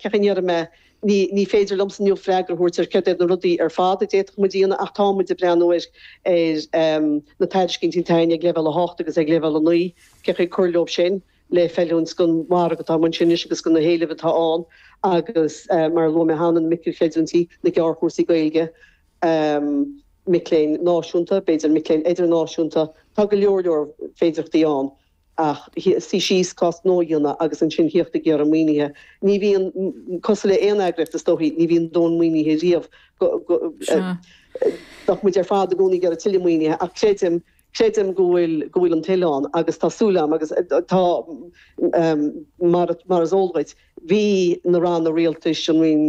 Cén chaoi a ndéarfaidh mé, ní, ní féidir liomsa inniu freagra a thabhairt ar céard iad na rudaí ar fad a d'fhéadfadh muid a dhéanamh ach tá muid ag breathnú ar, ar na tairiscintí atá againn ag leibhéal 8 agus ag leibhéal 9, cén chaoi cur leo sin le feiliúint don mhargadh atá amuigh ansin anois agus do na héilimh atá ann agus mar a luaigh mé cheana, na micreachreidiúintí, na gearrchúrsaí Gaeilge, mic léinn náisiúnta, b'fhéidir mic léinn idirnáisiúnta, tá go leor leor féidearthachtaí ann ach suí síos, cás gnó a dhéanamh agus ansin thíocht ag iarraidh maoinithe. Ní bhíonn, cosúil le aon eagraíocht is dóichí, ní bhíonn dóthain maoinithe riamh go, go, bheadh muid ar fad i gcónaí ag iarraidh tuilleadh maoinithe ach creidim, creidim go bhfuil, go bhfuil an toil ann agus tá súil agam agus tá, mar, mar is eol dhuit, bhí na ranna rialtais, an Roinn,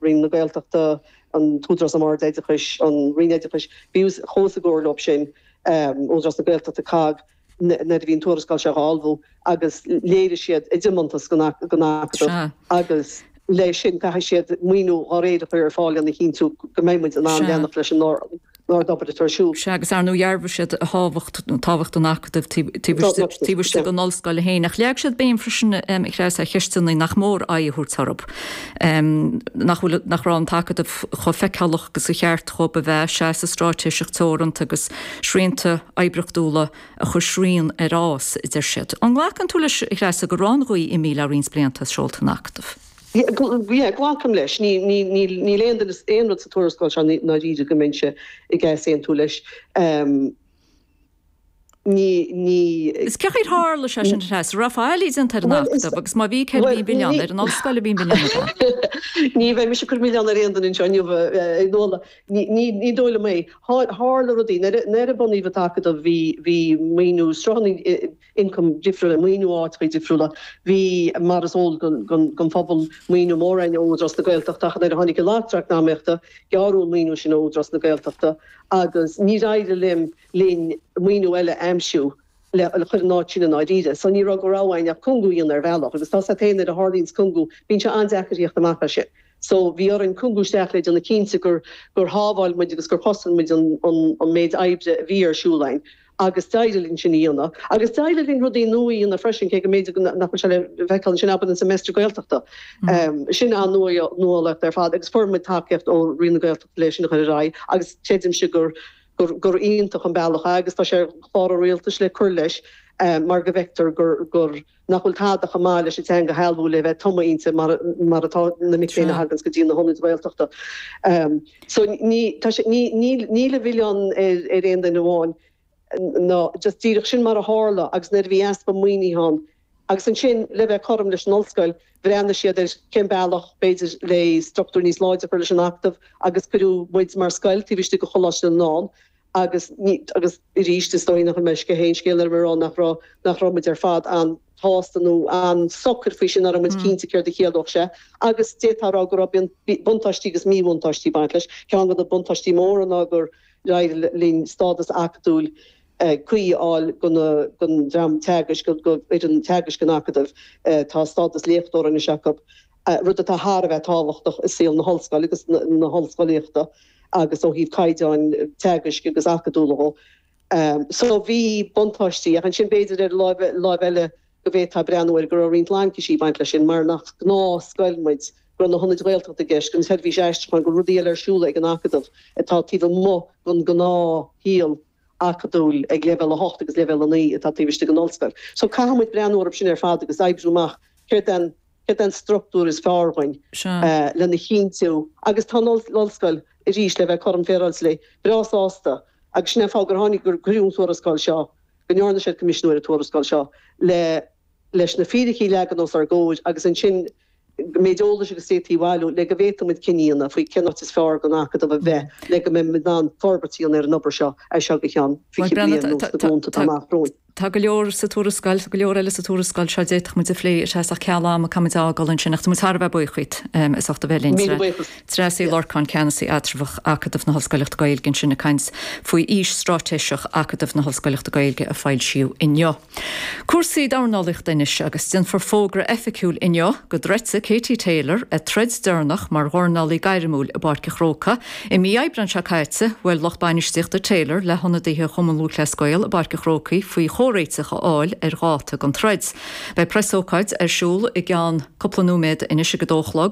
Roinn na Gaeltachta, an tÚdarás um Ard-Oideachais, an Roinn Oideachais, bhí, chuas i gcomhairle leo sin, Údarás na Gaeltachta, COGG, nuair a bhí an tuarascáil seo á ullmhú agus léirigh siad a dtiomantas don Acadamh agus leis sin caithfidh siad maoiniú dá réir a chur ar fáil lena chinntiú go mbeidh muid in ann leanacht leis an ard-obair atá ar siúl. Sea, agus ar ndóigh dhearbhaigh siad a thábhacht, tábhacht an Acadaimh taobh istigh den ollscoil féin. Ach leag siad béim freisin, a Threasa, ar cheisteanna nach mór aghaidh a thabhairt orthu. Nach bhfuil, nach raibh an tAcadamh chomh feiceálach agus ba cheart dhóibh a bheith, seasamh straitéiseach teoranta agus srianta oibriochtúla a chuir srian ar fhás, a deir siad. An nglacann tú leis, a Threasa, go raibh an ghaoth imithe le roinnt blianta as seolta an Acadaimh? Yeah, glacaim leis. Níl aon duine, aon rud sa tuarascáil seo i ndáiríre go mbeinnse ag easaontú leis. Ní, ní. Is cén chaoi ar tharla sé sin, a Threasa? An raibh faillí déanta ar an Acadamh agus má bhí, céard a bhí an milleán? Ar an ollscoil a bhí an milleán ab ea? Ní bheidh mise ag cur milleán ar aon duine anseo inniu, a Nuala. Ní, ní, ní dóigh liom é. Tharla rudaí. Nuair a bunaíodh an tAcadamh bhí, bhí maoiniú, sruthanna ioncaim difriúla, maoiniú áiteachaí difriúla. Bhí, mar is eol don phobal, maoiniú mór againn ó Údarás na Gaeltachta ach nuair a tháinig an eachtra eacnamaíochta, gearradh an maoiniú sin ó Údarás na Gaeltachta agus níor éirigh linn, linn maoiniú eile a aimsiú le chur in áit sin i ndáiríre. So ní raibh de rogha againn ach cúngú a dhéanamh ar bhealach agus tá a fhios agat féin nuair a tharlaíonns cúngú bíonn sé an-deacair theacht amach as sin. So bhí orainn cúngú isteach le déanamh cinnte gur gur shábháil muid agus gur chosain muid an an an méid oibre a bhí ar siúl againn agus d'éirigh linn sin a dhéanamh. Agus d'éirigh linn rudaí nua a dhéanamh freisin cé go mb'fhéidir go nach bhfuil sé le feiceáil ansin abair an Semester Gaeltachta. Sin an-nuálaíocht ar fad agus fuair muid tacaíocht ó Roinn na Gaeltachta le sin a chur ar aghaidh agus creidimse gur gur gur iontach an bealach é agus tá sé ar chlár an rialtais le cur leis mar go bhfeictear gur gur nach bhfuil tada chomh maith leis an teanga a shealbhú le bheith tumtha inti mar mar atá na mic léinn a thaganns go dtí na hionaid Ghaeltachta. So ní tá sé ní níl níl an milleán ar ar aon duine amháin ná just díreach sin mar a tharla agus nuair a bhí easpa maoinithe ann Agus ansin, le bheith cothrom leis an ollscoil, bhreathnaigh siad ar cén bealach, b'fhéidir, le struchtúr níos láidre a chur leis an Acadamh agus cuireadh muid mar scoil taobh istigh de Choláiste na nDán agus ní, agus arís, is dóigh nach bhfuil mé ag sceitheadh aon scéal ar mé a rá nach raibh, nach raibh muid ar fad an-shásta nó an-socair faoi sin, nach raibh muid cinnte céard a chiallódh sé agus d'fhéadfá a rá go raibh buntáistí agus míbhuntáistí ag baint leis. Ceann de na buntáistí móra ná gur éirigh linn stádas acadúil cuí a fháil don dream teagaisc, do fhoireann teagaisc an Acadaimh. Tá stádas léachtóra anois acu, rud atá thar a bheith tábhachtach i saol na hollscoile agus na hollscolaíochta agus ó thaobh caighdeáin teagaisc agus acadúla dhó. So bhí buntáistí, ach ansin b'fhéidir ar an láimh eile go bhféadfá breathnú air go raibh roinnt laincisí ag baint leis sin mar nach gnáthscoil muid, go raibh na hionaid Ghaeltachta i gceist, an tseirbhís aistriúcháin, go raibh rudaí eile ar siúl ag an Acadamh atá taobh amuigh den ghnáthshaol acadúil ag leibhéal 8 agus leibhéal 9 atá taobh istigh den ollscoil. So caithfidh muid breathnú orthu sin ar fad agus oibriú amach céard é an céard é an struchtúr is fearr dhuinn lena chinntiú agus tá an ollscoil, arís, le bheith cothrom féaráilte léi, breá sásta agus sin é an fáth gur tháinig, gur cuireadh an tuarascáil seo, go ndearna siad coimisiúnú ar an tuarascáil seo le leis na fíricí a leagan os ár gcomhair agus ansin an méid eolais agus d'fhéadfaí a bhailiú le go bhféadfadh muid cinneadh a dhéanamh faoi cén áit is fearr don Acadamh a bheith le go mbeidh muid in ann forbairt a dhéanamh ar an obair seo as seo go ceann 20 bliain nó sna glúnta atá amach romhainn. Tá go leor sa tuarascáil, tá go leor eile sa tuarascáil seo a d'fhéadfadh muid a phlé, a Threasa, ach ceal ama, caithfidh muid a fhágáil ansin ach tá muid thar a bheith buíoch díot as ucht a bheith linn. Míle buíochas. Treasa Uí Lorcáin, Ceannasaí Eatramhach Acadamh na hOllscoileachta Gaeilge ansin ag caint faoi fhís straitéiseach Acadamh na hOllscoileachta Gaeilge a foilsíodh inniu. Cúrsaí dornálaíochta anois agus déanfar fógra oifigiúil inniu go dtroidfidh Katie Taylor a troid deireanach mar dhornálaí gairmiúil i bPáirc an Chrócaigh. I mí Aibreáin seo caite, bhuail lucht bainistíochta Taylor le hionadaithe Chumann Lúthchleas Gael i bPáirc an Chrócaigh faoi chomhréiteach a fháil ar dháta don troid. Beidh preasócáid ar siúl i gceann cúpla nóiméad anois ag a dó a chlog.